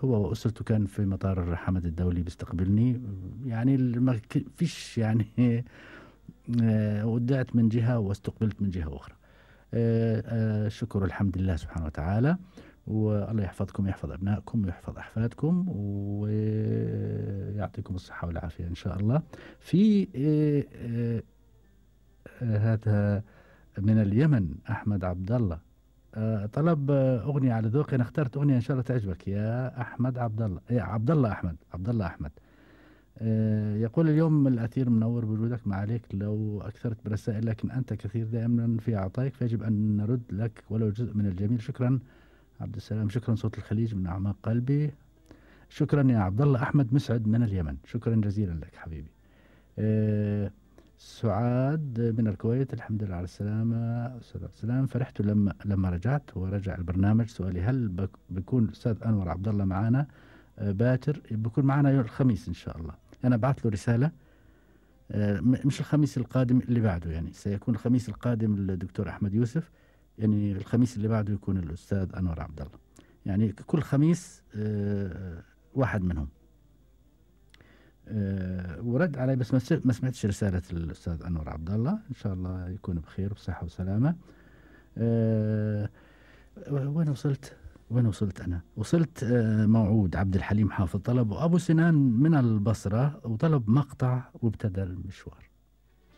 هو وأسرته كان في مطار حمد الدولي بيستقبلني، يعني ما فيش يعني ودعت من جهة واستقبلت من جهة أخرى. شكر الحمد لله سبحانه وتعالى، والله يحفظكم ويحفظ أبنائكم ويحفظ أحفادكم ويعطيكم الصحة والعافية إن شاء الله. في هذا من اليمن أحمد عبد الله طلب أغنية على ذوقي. أنا اخترت أغنية إن شاء الله تعجبك يا أحمد عبد الله، يا عبد الله أحمد، عبد الله أحمد. يقول اليوم الأثير منور بوجودك، ما عليك لو أكثرت برسائل، لكن أنت كثير دائما في عطائك، فيجب أن نرد لك ولو جزء من الجميل. شكرا عبد السلام، شكرا صوت الخليج من أعماق قلبي. شكرا يا عبد الله أحمد مسعد من اليمن، شكرا جزيلا لك حبيبي. سعاد من الكويت، الحمد لله على السلامة أستاذ عبد السلام. فرحت لما رجعت ورجع البرنامج. سؤالي هل بيكون الأستاذ أنور عبد الله معنا باكر؟ بيكون معنا يوم الخميس إن شاء الله. أنا بعث له رسالة، مش الخميس القادم اللي بعده، يعني سيكون الخميس القادم الدكتور أحمد يوسف، يعني الخميس اللي بعده يكون الأستاذ أنور عبد الله، يعني كل خميس واحد منهم. ورد علي بس ما سمعتش رسالة الأستاذ أنور عبد الله. إن شاء الله يكون بخير وبصحة وسلامة. وين وصلت أنا؟ وصلت موعود عبد الحليم حافظ طلب، وأبو سنان من البصرة وطلب مقطع وابتدى المشوار.